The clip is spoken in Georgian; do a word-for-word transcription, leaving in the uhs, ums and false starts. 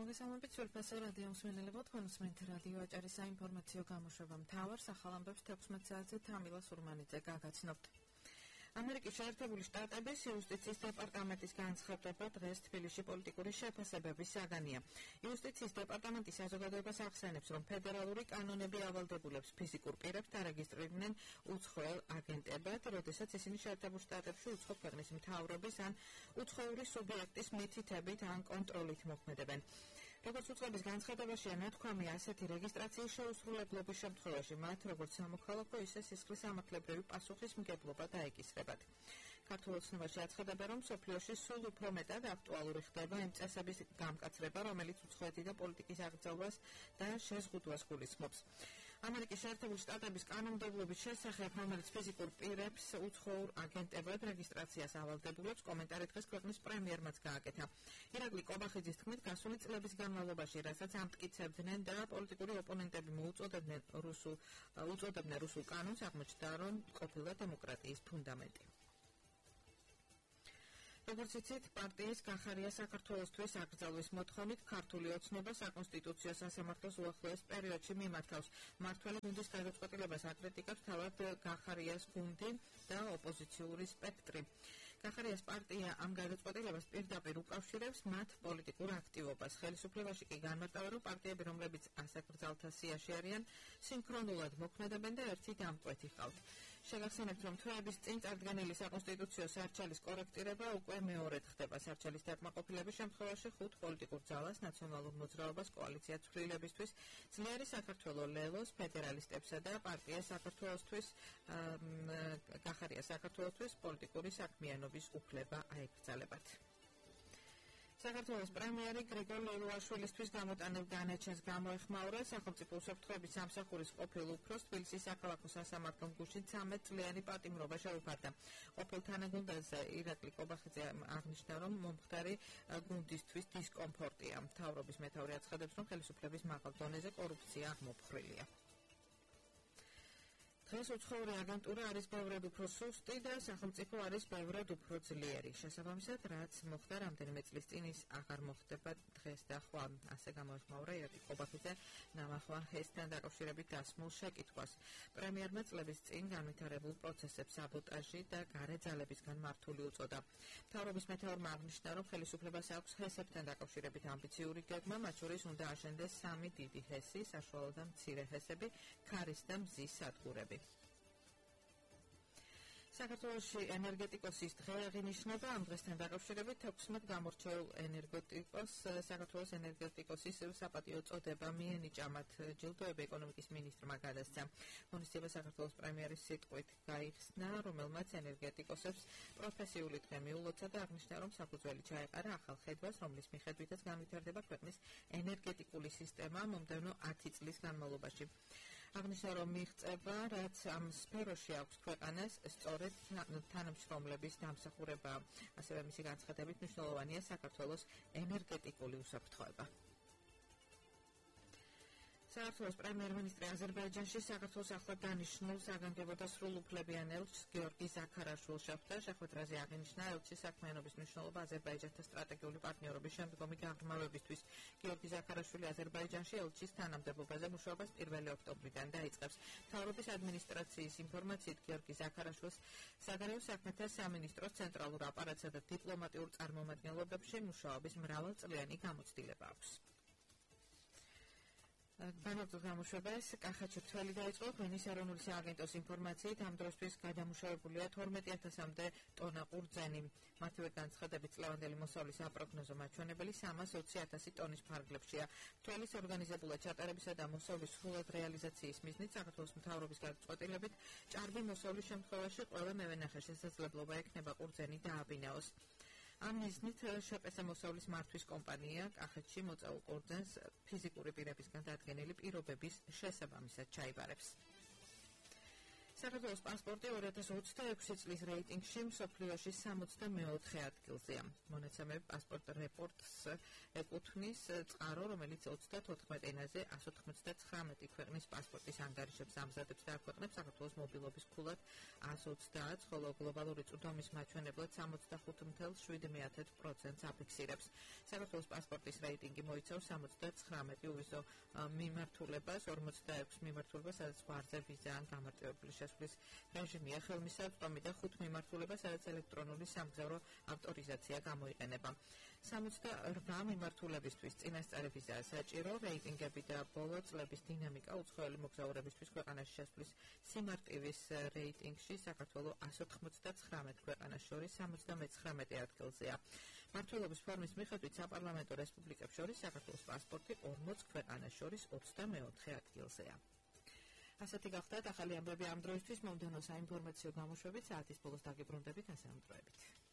მოგესალმებით სულფასო რადიო მსმენელებო, თქვენ უსმენთ რადიო აჭარის საინფორმაციო გამოშვება მთავარ სახალამბებს თექვსმეტ საათზე თამილა სურმანიძე გაგაცნობთ. ამერიკის შეერთებული შტატების იუსტიციის დეპარტამენტის განცხადება დღეს თბილისში პოლიტიკური შეფასებების საგანია. იუსტიციის დეპარტამენტი საზოგადოებას ახსენებს, რომ ფედერალური კანონები ავალდებულებს ფიზიკურ პირებს დარეგისტრირდნენ უცხოელ აგენტებად, როდესაც ისინი შეერთებულ შტატებში უცხო ქვეყნის მთავრობის ან უცხოური სუბიექტის მითითებით ან კონტროლით მოქმედებენ. როგორც უწყების განცხადებაშია ნათქვამი, ასეთი რეგისტრაციის შეუსრულებლობის შემთხვევაში მათ როგორც სამოქალაქო, ისე სისხლის სამართლებრივი პასუხისმგებლობა დაეკისრებათ. ქართულ ოცნებაში აცხადებენ, რომ მსოფლიოში სულ უფრო მეტად აქტუალური ხდება იმ წესების გამკაცრება, რომელიც უცხოეთი და პოლიტიკის აღრძალვას და შეზღუდვას გულისხმობს. ამერიკის შეერთებული შტატების კანონმდებლობის შესახებ, რომელიც ფიზიკურ პირებს უცხოურ აგენტებად რეგისტრაციას ავალდებულებს, კომენტარი დღეს ქვეყნის პრემიერმაც გააკეთა. ირაკლი კობახიძის თქმით, გასული წლების განმავლობაში, რასაც ამტკიცებდნენ და პოლიტიკური ოპონენტები მოუწოდებდნენ რუსულ უწოდებდნენ რუსულ კანონს, აღმოჩნდა, რომ ყოფილა დემოკრატიის ფუნდამენტი. როგორც იცით, პარტიის გახარია საქართველოსთვის აკრძალვის მოთხოვნით ქართული ოცნება საკონსტიტუციო სასამართლოს უახლოეს პერიოდში მიმართავს. მმართველი გუნდის გადაწყვეტილებას აკრიტიკებს თავად გახარიას გუნდი და ოპოზიციური სპექტრი. გახარიას პარტია ამ გადაწყვეტილებას პირდაპირ უკავშირებს მათ პოლიტიკურ აქტივობას. ხელისუფლებაში კი განმარტავენ, რომ პარტიები, რომლებიც ასაკრძალთა სიაში არიან, სინქრონულად მოქმედებენ და ერთი დამკვეთი ჰყავთ. შეგახსენებთ, რომ თვეების წინ წარდგენილი საკონსტიტუციო სარჩელის კორექტირება უკვე მეორედ ხდება. სარჩელის დაკმაყოფილების შემთხვევაში ხუთ პოლიტიკურ ძალას, ნაციონალურ მოძრაობას, კოალიცია ცვლილებისთვის, ძლიერი საქართველო ლელოს, ფედერალისტებსა და პარტია საქართველოსთვის, გახარია საქართველოსთვის პოლიტიკური საქმიანობის უფლება აეკრძალებათ. საქართველოს პრემიერი გრიგორ ლელუაშვილისთვის გამოტანილ განაჩენს გამოეხმაურა სახელმწიფო უსაფრთხოების სამსახურის ყოფილ უფროს თბილისის საქალაქო სასამართლო გუშინ ცამეტ წლიანი პატიმრობა შეუფარდა. ყოფილ თანაგუნდაზე ირაკლი კობახიძე აღნიშნა, რომ მომხდარი გუნდისთვის დისკომფორტია. მთავრობის მეთაური აცხადებს, რომ ხელისუფლების მაღალ დონეზე კორუფცია აღმოფხრილია. დღეს უცხოური აგენტურა არის ბევრად უფრო სუსტი და სახელმწიფო არის ბევრად უფრო ძლიერი. შესაბამისად, რაც მოხდა რამდენიმე წლის წინ, ის აღარ მოხდება დღეს და ხვალ. ასე გამოეხმაურა ირაკლი კობახიძე ნამახვა ჰესთან დაკავშირებით დასმულ შეკითხვას. პრემიერმა წლების წინ განვითარებულ პროცესებს საბოტაჟი და გარე ძალებისგან მართული უწოდა. მთავრობის მეთაურმა აღნიშნა, რომ ხელისუფლებას აქვს ჰესებთან დაკავშირებით ამბიციური გეგმა, მათ შორის უნდა აშენდეს სამი დიდი ჰესი, საშუალო და მცირე ჰესები, ქარის და მზის სადგურები. საქართველოში ენერგეტიკოსის დღე აღინიშნება. ამ დღესთან დაკავშირებით თექვსმეტ გამორჩეულ ენერგეტიკოს საქართველოს ენერგეტიკოსის საპატიო წოდება მიენიჭა. მათ ჯილდოები ეკონომიკის მინისტრმა გადასცა. ღონისძიება საქართველოს პრემიერის სიტყვით გაიხსნა, რომელმაც ენერგეტიკოსებს პროფესიული დღე მიულოცა და აღნიშნა, რომ საფუძველი ჩაეყარა ახალ ხედვას, რომლის მიხედვითაც განვითარდება ქვეყნის ენერგეტიკული სისტემა მომდევნო ათი წლის განმავლობაში. აღნიშნა, რომ მიღწევა, რაც ამ სფეროში აქვს ქვეყანას, სწორედ თანამშრომლების დამსახურება. ასევე მისი განცხადებით მნიშვნელოვანია საქართველოს ენერგეტიკული უსაფრთხოება. საქართველოს პრემიერ-მინისტრი აზერბაიჯანში საქართველოს ახლად დანიშნულ საგანგებო და სრულუფლებიან ელჩს გიორგი ზაქარაშვილს შეხვდა. შეხვედრაზე აღინიშნა ელჩის საქმიანობის მნიშვნელობა აზერბაიჯანთან სტრატეგიული პარტნიორობის შემდგომი გაღრმავებისთვის. გიორგი ზაქარაშვილი აზერბაიჯანში ელჩის თანამდებობაზე მუშაობას პირველი ოქტომბრიდან დაიწყებს. მთავრობის ადმინისტრაციის ინფორმაციით, გიორგი ზაქარაშვილს საგარეო საქმეთა სამინისტროს ცენტრალურ აპარატსა და დიპლომატიურ წარმომადგენლობებში მუშაობის მრავალწლიანი გამოცდილება აქვს. განაგრძო გამოშვებას კახეთში თველი დაიწყო. ღვინის ეროვნული სააგენტოს ინფორმაციით, ამ დროსთვის გადამუშავებულია თორმეტი ათასამდე ტონა ყურძენი. მათივე განცხადებით, წლევანდელი მოსავლის აპროგნოზო მაჩვენებელი სამას ოცი ათასი ტონის ფარგლებშია. თველის ორგანიზებულად ჩატარებისა და მოსავლის სრულად რეალიზაციის მიზნით საქართველოს მთავრობის გადაწყვეტილებით ჭარბი მოსავლის შემთხვევაში ყველა მევენახე შესაძლებლობა ექნება ყურძენი დააბინაოს. ამ მიზნით შპს მოსავლის მართვის კომპანია კახეთში მოწაულ ყურძენს ფიზიკური პირებისგან დადგენილი პირობების შესაბამისად ჩაიბარებს. საქართველოს პასპორტი ორი ათას ოცდაექვსი წლის რეიტინგში მსოფლიოში სამოცდამეოთხე ადგილზეა. მონაცემები პასპორტ რეპორტს ეკუთვნის წყარო, რომელიც ოცდათოთხმეტ ენაზე ასი ოცდათხრამეტი ქვეყნის პასპორტის ანგარიშებს ამზადებს და აქვეყნებს საქართველოს მობილობის ფულად ასი ოცდაათს, ხოლო გლობალური წვდომის მაჩვენებლად სამოცდახუთ ათას შვიდ პროცენტს აფიქსირებს. საქართველოს პასპორტის რეიტინგი მოიცავს სამოცდაცხრამეტ უვიზო მიმართულებას, ორმოცდაექვსი მიმართულებას, სადაც გვარზე ვიზა ან გამარტივებული შესვლის რეჟიმია, ხელმისაწვდომი და ხუთ მიმართულებას, სადაც ელექტრონული სამგზავრო ავტორიზაცია გამოიყენება. სამოცდაორ მიმართულებისთვის წინასწარი ვიზაა საჭირო. რეიტინგები და ბოლო წლების დინამიკა უცხოელი მოგზაურებისთვის ქვეყანაში შესვლის სიმარტივის რეიტინგში საქართველო ასი ოცდათხრამეტ ქვეყანას შორის სამოცდამეცხრამეტე ადგილზეა. მმართველობის ფორმის მიხედვით საპარლამენტო რესპუბლიკებს შორის საქართველოს პასპორტი ორმოც ქვეყანას შორის ოცდამეოთხე ადგილზეა. ასეთი გახდათ ახალი ამბები ამ დროისთვის. მომდევნო საინფორმაციო გამოშვებით საათის ბოლოს დაგიბრუნდებით ასე ამ დროებით.